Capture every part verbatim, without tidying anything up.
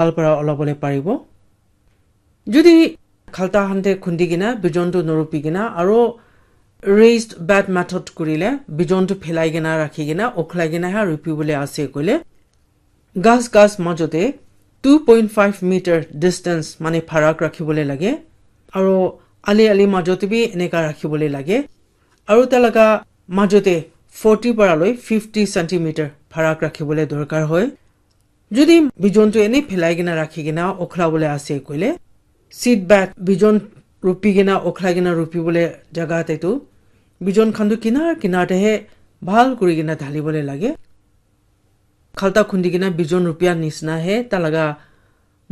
bhal para olabole paribo. Jodi khalta hante khundi kena bijon tu norupi kena aro raised bed method kurile bijon tu phelai kena rakhi kena okhlai kena ha rupi bole ase koile, gas gas majote two point five meter distance mane pharak rakhibole lage. Aro ali ali majote bi eneka rakhibole lage. Aro talaga majote forty para loi fifty centimeter pharak rakhibole dorkar hoy. Jodi bijon tu ene phelai kena rakhi kena okhlabole ase koile, seed bed bijon rupi kena okhlai kena rupi bole jaga te tu bijon khan tu kinar kinar te he bhal kuri kena dhalibole lage. Khalta khundi kena bijon rupia nisna he talaga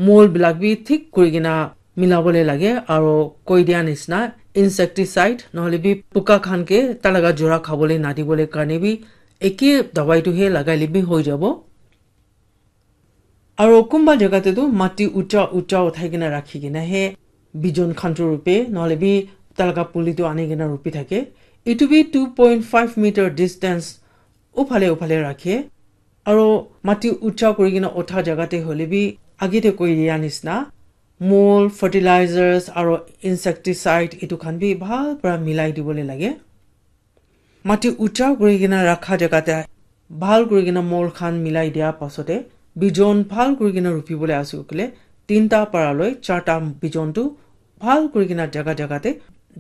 mol bilak bi thik kuri kena milabole lage aro koi dia nisna insecticide nohole bi puka khan ke talaga jora khabole nadibole karne bi eke dawai tu he lagaile bi hoi jabo. Aro kumba jaga te tu mati ucha ucha uthai kena rakhi kena he bijon khan tu rupe nohole bi talaga puli tu ani kena rupi thake. Itu bi two point five meter distance uphale uphale rakhe. Aro mati ucha kuri kena utha jaga te hole bi age te koi dia nisna mol, fertilizers aro insecticide itu khan bi bhal para milai dibole lage. Mati ucha kuri kena rakha jaga te bhal kuri kena mol khan milai dia pasote bijon bhal kuri kena rupi bole ase koile tinta para loi charta bijon tu bhal kuri kena jaga jaga te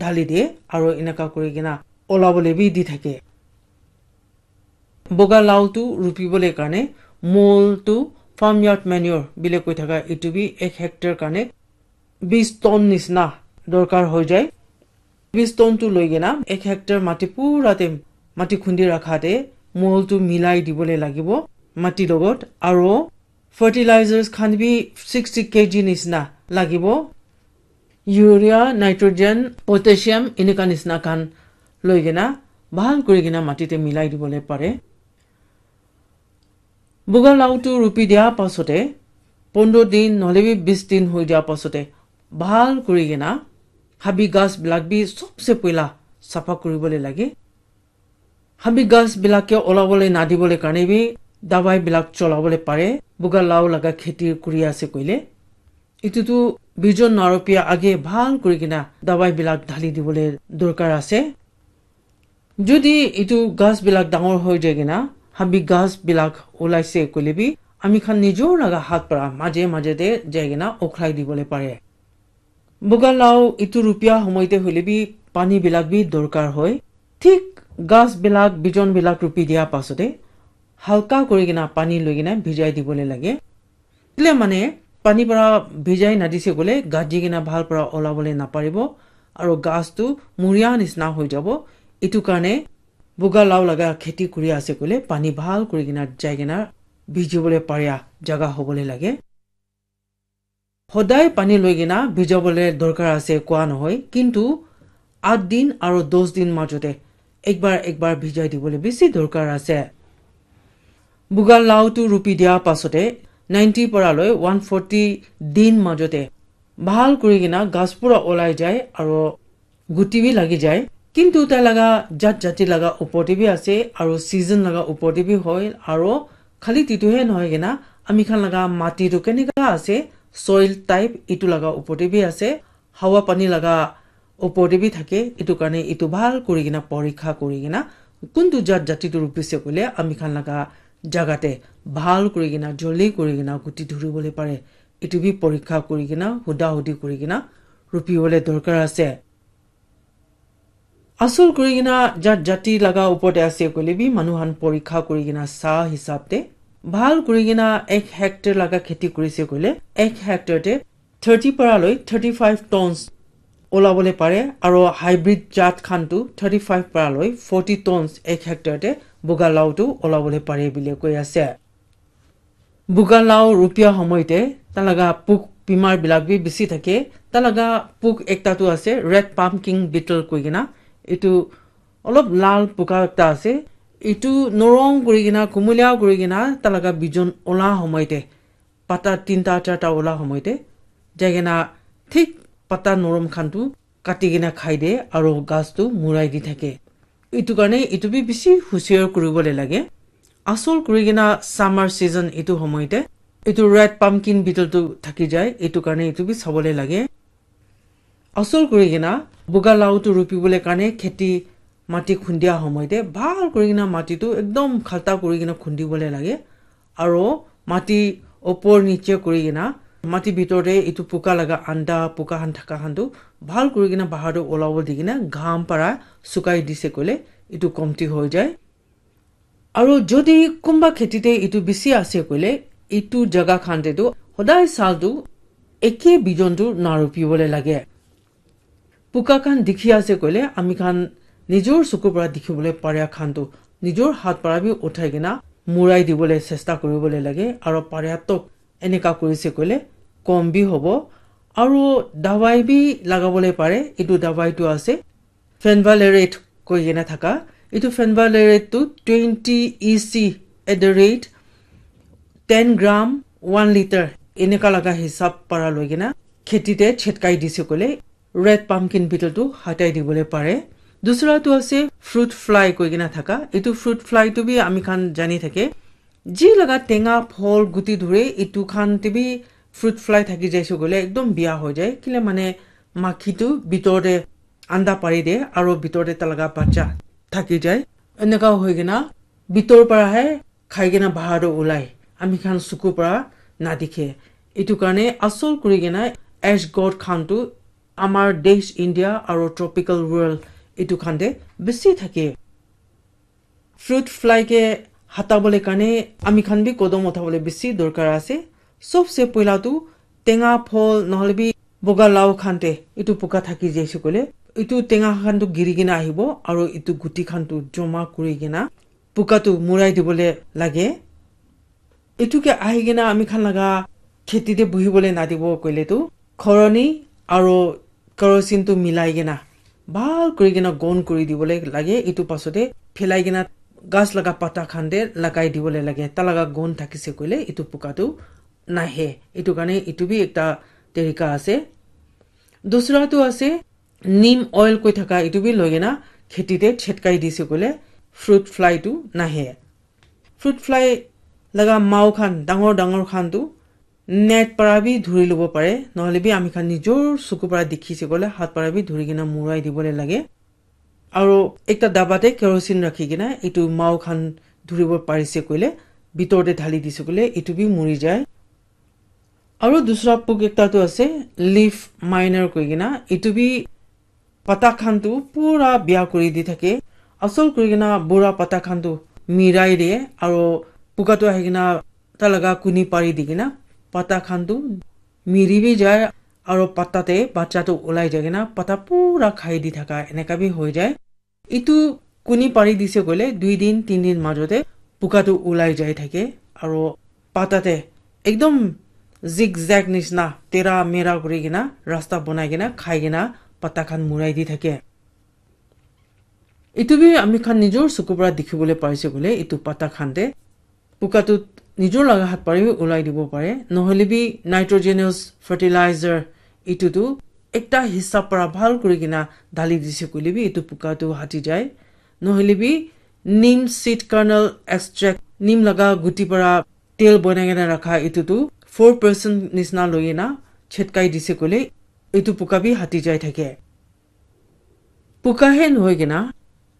dhali de aro eneka kuri kena olabole bi di thake. Boga lau tu rupi bole karne mol tu farmyard manure bile koi thaka itu bi ek hectare karne bis ton nisna dorkar hoi jai. Bis ton tu loi kena ek hectare mati pura te mati khundi rakha te mol tu milai dibole lagibo mati logot aro fertilizers khan bi sixty kg nisna lagibo. Urea, nitrogen, potassium eneka nisna khan loi kena bhal kuri kena mati te milai dibole pare. Buga lau tu rupi dia pasote pondro din nohole bi bis din hoi dia pasote bhal kuri kena habi gas bilak bi sobse puila sapha kuribole lage. Habi gas bilak ke olabole nadibole karne bi dawai bilak cholabole pare. Buga lau laga kheti kuri ase koile itu tu bijon narupia age bhal kuri kena dawai bilak dhali dibole dorkar ase. Jodi itu gas bilak dangor hoi jai kena habi gas bilak ulaise koile bi ami khan nijor laga hat para maje maje te jai kena okhlai dibole pare. Buga lau itu rupia homoite hole bi pani bilak bi dorkar hoi. Thik gas bilak bijon bilak rupi dia pasote halka kuri kena pani loi kena bhijai dibole lage. Kile mane pani para bhijai nadise koile gaji kena bhal para olabole naparibo aro gas tu muria nisna hoi jabo. Itu karne buga lau laga kheti kuri ase koile pani bhal kuri kena jai kena bhijibole paria jaga hobole lage. Hodai pani loi kena bhijabole dorkar ase koa nohoi kintu at din aro dos din majote ekbar ekbar bhijai dibole bisi dorkar ase. Buga lau tu rupi dia pasote ninety para loi one forty din majote bhal kuri kena gas pura olai jai aro guti bi lagi jai. Kintu tai laga jat jati laga upor te bi ase aro season laga upor te bi hoi aro khali titu he nohoi kena ami khan laga mati tu keneka ase soil type itu laga upor te bi ase hawa pani laga upor te bi thake. Itu karne itu bhal kuri kena porikha kuri kena kuntu jat jati tu rupise koile ami khan laga jaga te bhal kuri kena joldi kuri kena guti dhuribole pare. Itu bi porikha kuri kena huda hudi kuri kena rupibole dorkar ase. Asol kuri kena jat jati laga upor te ase koile bi manu khan porikha kuri kena sa hisab te bhal kuri kena ek hectare laga kheti kurise koile ek hectare te thirty para loi thirty five tons olabole pare aro hybrid jat khan tu thirty five para loi forty tons ek hectare te buga lau tu olabole pare bile koi ase. Buga lau rupia homoite talaga puk bimar bilak bi bisi thake. Talaga puk ekta tu ase red pumpkin beetle koi kena. Itu olop lal puka ekta ase. Itu norong kuri kena kumulia kuri kena talaga bijon ola homoite pata tinta charta ola homoite jai kena thik pata norom khan tu kati kena khai de aro gas tu murai di thake. Itu karne itu bi bisi husiar kuribole lage. Asol kuri kena summer season itu homoite Etu red pumpkin beetle tu thaki jai, etu karne etu bi sabole lage. Asol kuri kena, buga lau tu rupi bole karne kheti mati khundia homoi te, bhal kuri kena mati tu ekdom khalta kuri kena khundi bole lage. Aro mati opor niche kuri kena, mati bitor te etu puka laga anda, puka khan thaka khan tu bhal kuri kena bahar te olabo di kena, gham para sukai dise koile, etu komti hoi jai. Aro jodi kunba kheti te etu bisi ase koile, etu jaga khan te tu hodai sal tu eke bijon tu narupi bole lage. Puka khan dikhi ase koile, ami khan nijor suku para dikhi bole paria khan tu nijor hat para bi uthai kena murai di bole chesta kuri bole lage. Aro paria tok eneka kuri se koile kom bi hobo. Aro dawai bi laga bole pare, etu dawai tu ase phenvalerate koi kena thaka. Etu phenvalerate tu twenty E C at the rate ten gram one liter eneka laga hisab para loi kena kheti te chetkai dise koile red pumpkin beetle tu hatai di bole pare. Dusra tu ase fruit fly koi kena thaka. Etu fruit fly tu bi ami khan jani thake. Ji laga tenga phol guti dhure etu khan te bi fruit fly thaki jaise koile ekdom bia hoi jai. Kile mane makhi tu bitor te anda pari de aro bitor te talaga bacha thaki jai. Eneka hoi kena bitor para hai khai kena bahar te ulai. Ami khan suku para na dikhe. Etu karne asol kuri kena ash god khan tu amar desh India aro tropical world etu khan te bisi thake. Fruit fly ke hata bole karne ami khan bi kodom utha bole bisi dorkar ase. Sobse poila tu tenga phol nohole bi boga lau khan te etu puka thaki jaise koile etu tenga khan tu giri kena ahibo aro etu guti khan tu joma kuri kena puka tu murai di bole lage. Etu ke ahi kena ami khan laga kheti te buhi bole na dibo koile tu khoroni aro kerosene tu milai kena bhal kuri kena gon kuri di bole lage. Etu pasote phelai kena ghas laga pata khan te lagai di bole lage. Ta laga gon thakise koile etu puka tu nahe. Etu karne etu bi ekta tarika ase. Dusra tu ase neem oil koi thaka etu bi loi kena kheti te chetkai dise koile fruit fly tu nahe. Fruit fly laga mau khan dangor dangor khan tu net para bi dhuri lobo pare, nohole bi ami khan nijor suku para dikhi se koile hat para bi dhuri kena murai di bole lage. Aro ekta daba te kerosene rakhi kena etu mau khan dhuribo parise koile bitor te dhali dise koile etu bi muri jai. Aro dusra puk ekta tu ase leaf miner koi kena etu bi pata khan tu pura bia kuri di thake. Asol kuri kena bura pata khan tu mirai de aro puka tu ahi kena ta laga kuni pari di kena pata khan tu miri bi jai aro pata te bacha tu ulai jai kena pata pura khai di thaka eneka bi hoi jai. Etu kuni pari dise koile dui din tin din majo te puka tu ulai jai thake aro pata te ekdom zigzag nishina tera mera kuri kena rasta bonai kena khai kena pata khan murai di thake. Etu bi ami khan nijor suku para dikhi bole parise koile etu pata khan te puka tu nijor laga hat para bi ulai dibo pare, nohole bi nitrogenous fertilizer etu tu ekta hisab para bhal kuri kena dhali dise koile bi etu puka tu hati jai, nohole bi neem seed kernel extract, neem laga guti para tel bonai kena rakha etu tu four percent nishina loi kena chetkai dise koile etu puka bi hati jai thake. Puka he nohoi kena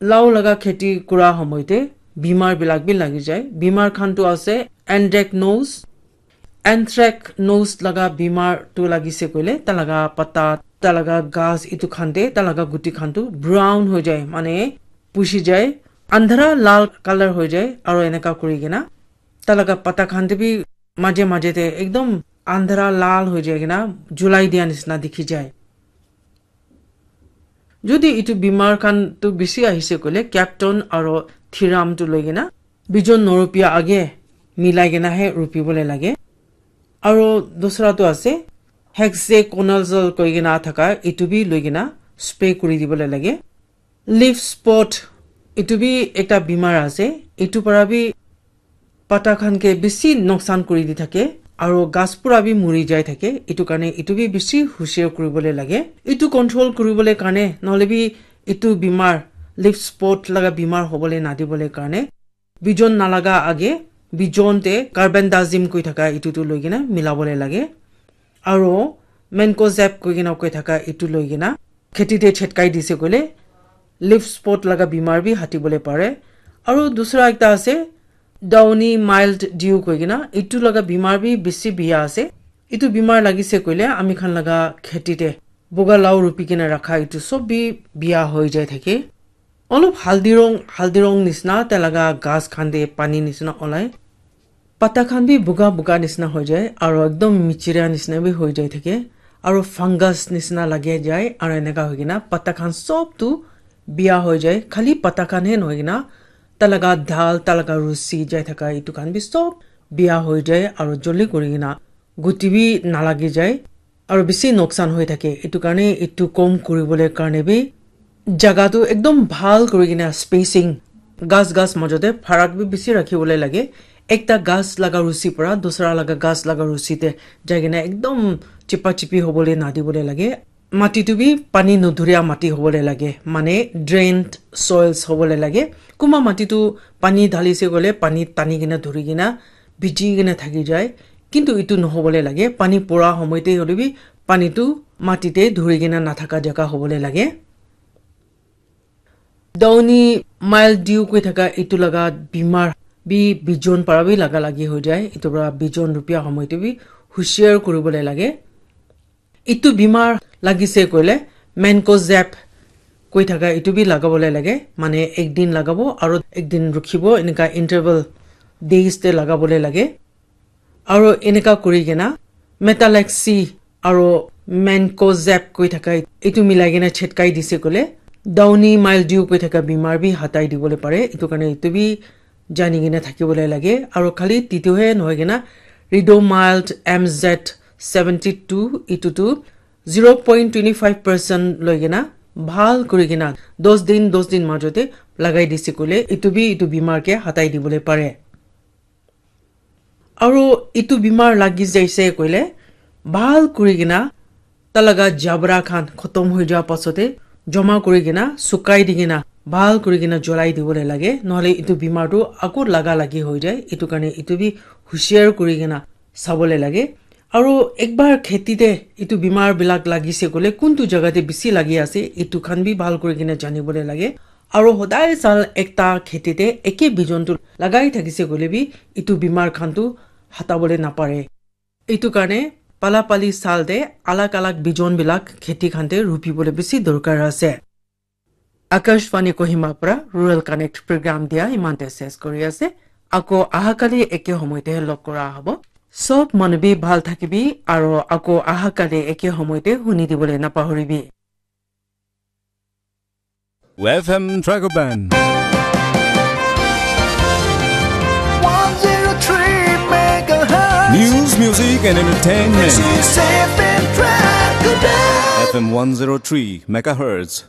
lau laga kheti kura homoi te bimar bilak bi lagi jai. Bimar khan tu ase anthracnose. Anthracnose laga bimar tu lagise koile ta laga pata, ta laga ghas etu khan te ta laga guti khan tu brown hoi jai, mane pushi jai, andhara lal color hoi jai aro eneka kuri kena ta laga pata khan te bi maje maje te ekdom andhara lal hoi jai kena julai dia nishina dikhi jai. Jodi etu bimar khan tu bishi ahise koile capton aro thiram tu loi kena bijon norupia age milai kena he rupi bole lage. Aro dusra tu ase hexaconazole koi kena thaka etu bi loi kena spray kuri di bole lage. Leaf spot etu bi ekta bimar ase, etu para bi pata khan ke bishi noksan kuri di thake aro ghas pura bi muri jai thake, etu karne etu bi bishi husiar kuri bole lage. Etu control kuri bole karne nohole bi etu bimar leaf spot laga bimar hobole na di bole karne bijon nalaga age bijon te carbendazim koi thaka etu tu loi kena milabole lage. Aro mancozeb koi kena koi thaka etu loi kena kheti te chetkai dise koile leaf spot laga bimar bi hatibole pare. Aro dusra ekta ase downy mildew koi kena, etu laga bimar bi bishi biya ase. Etu bimar lagise koile ami khan laga kheti te boga lau rupi kena rakha etu sob bi biya hoi jai thake. Olop haldi rong, haldi rong nisna tai laga ghas khan te pani nisna olai. Pata khan bi buga buga nisna hoi jai, aro ekdom michiria nisna bi hoi jai thake, aro fungus nisna lage jai, aro eneka hoi kena pata khan sob tu biya hoi jai, khali pata khan he nohoi kena tai laga dal, tai laga rusi jai thaka etu khan bi sob biya hoi jai, aro joldi kuri kena guti bi nalagi jai, aro bishi noksan hoi thake. Etu karne etu kom kuribole karne bi jaga tu ekdom bhal kuri kena spacing, ghas ghas majo te pharak bi bishi rakhi bole lage. Ekta ghas laga rusi para dusra laga ghas laga rusi te jai kena ekdom chipa chipi hobole na dibole lage. Mati tu bi pani nudhuria mati hobole lage, mane drained soils hobole lage. Kuma mati tu pani dhalise koile pani tani kena dhuri kena biji kena thaki jai, kintu etu nohobole lage. Pani pura homoi te hole bi pani tu mati te dhuri kena nathaka jaga hobole lage. Downy mildew koi thaka etu laga bimar bi bijon para bi laga lagi hoi jai. Etu para bijon rupia homoi te bi hushiar kuribole lage. Etu bimar lagise koile mancozeb koi thaka etu bi lagabole lage, mane ek din lagabo aro ek din rukhibo, eneka interval days te lagabole lage. Aro eneka kuri kena metalaxy aro mancozeb koi thaka etu milai kena chetkai dise koile downy mildew koi thaka bimar bi hatai dibole pare. Etu karne etu bi jani kena thakibole lage. Aro khali titu he nohoi kena Redomild M Z seventy two etu tu zero point twenty five percent loi kena bhal kuri kena dos din, dos din majo te lagai dise koile etu bi etu bimar ke hatai dibole pare. Aro etu bimar lagi jaise koile bhal kuri kena tai laga jabra khan khotom hoi ja pasote joma kuri kena sukai di kena bhal kuri kena jolai dibole lage, nohole etu bimar tu ako laga lagi hoi jai. Etu karne etu bi hushiar kuri kena sabole lage. Aro ekbar kheti te etu bimar bilak lagise koile kuntu jaga te bishi lagi ase etu khan bi bhal kuri kena janibole lage. Aro hodai sal ekta kheti te eke bijon tu lagai thakise koile bi etu bimar khan tu hatabole napare. Etu karne pala pali sal te alag alag bijon bilak kheti khan te rupibole bishi dorkar ase. Akashvani Kohima para Rural Connect program dia imante ses kuri ase. Ako ahakali eke homoite log kora hobo. Sob manu bi bhal thakibi aro ako ahakali eke homoite huni dibole napahoribi. F M Dragon Band. One zero three megahertz. News, music, and entertainment. This is F M Dragon Band. F M one zero three megahertz.